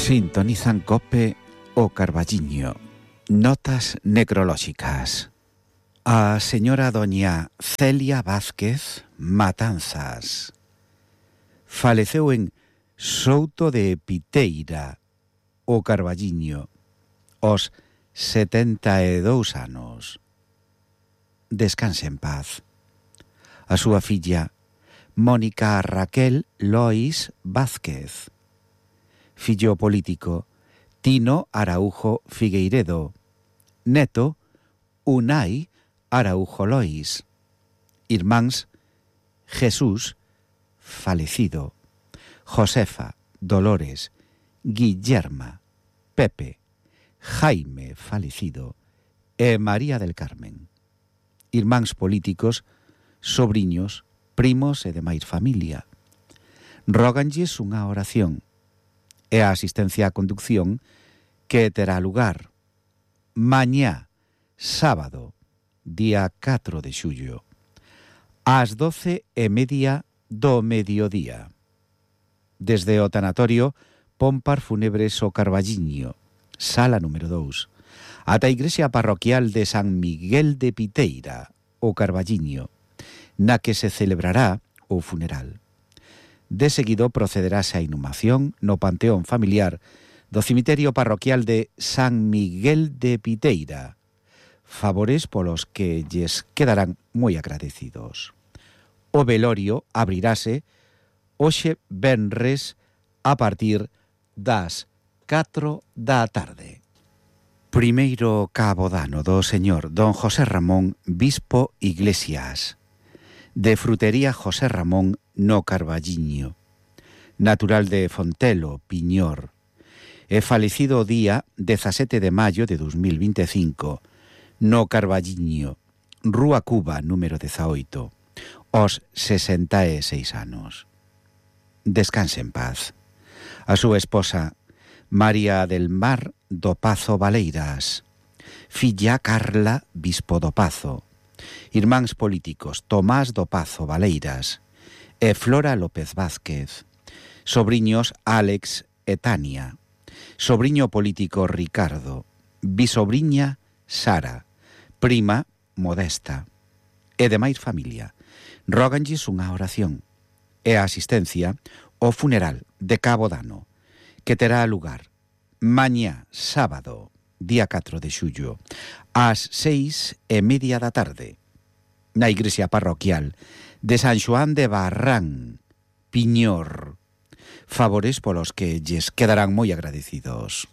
Sintonizan COPE o Carballiño. Notas necrolóxicas. A señora doña Celia Vázquez Matanzas faleceu en Souto de Piteira, o Carballiño, aos 72 anos. Descanse en paz. A súa filla, Mónica Raquel Lois Vázquez. Fillo político, Tino Araújo Figueiredo. Neto, Unai Araújo Lois. Irmáns, Jesús, falecido. Josefa, Dolores, Guillerma, Pepe, Jaime, falecido, e María del Carmen. Irmáns políticos, sobriños, primos e demais familia. Róganlles unha oración e a asistencia á conducción que terá lugar mañá, sábado, día 4 de xullo, ás 12:30 do mediodía. Desde o tanatorio Pompar Fúnebres o Carballiño, sala número 2, ata a igrexa parroquial de San Miguel de Piteira, o Carballiño, na que se celebrará o funeral. De seguido procederase a inhumación no panteón familiar do cemiterio parroquial de San Miguel de Piteira, favores polos que lles quedarán moi agradecidos. O velorio abrirase hoxe venres a partir das 4 da tarde. Primeiro cabo dano do señor don José Ramón Bispo Iglesias, de Frutería José Ramón no Carballiño, natural de Fontelo, Piñor, e falecido o día 17 de maio de 2025, no Carballiño, Rúa Cuba, número 18, aos 66 anos. Descanse en paz. A súa esposa, María del Mar do Pazo Valeiras, filla Carla Bispo do Pazo, irmáns políticos Tomás do Pazo Valeiras e Flora López Vázquez, sobriños Álex e Tania, sobriño político Ricardo, bisobriña Sara, prima Modesta e demais familia. Róganlles unha oración e a asistencia ao funeral de cabo dano, que terá lugar mañá, sábado, día 4 de xullo, ás 6:30 da tarde, na igrexa parroquial de San Xoán de Barrán, Piñor, favores polos que lles quedarán moi agradecidos.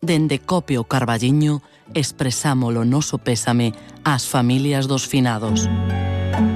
Dende COPE o Carballiño expresamos o noso pésame ás familias dos finados.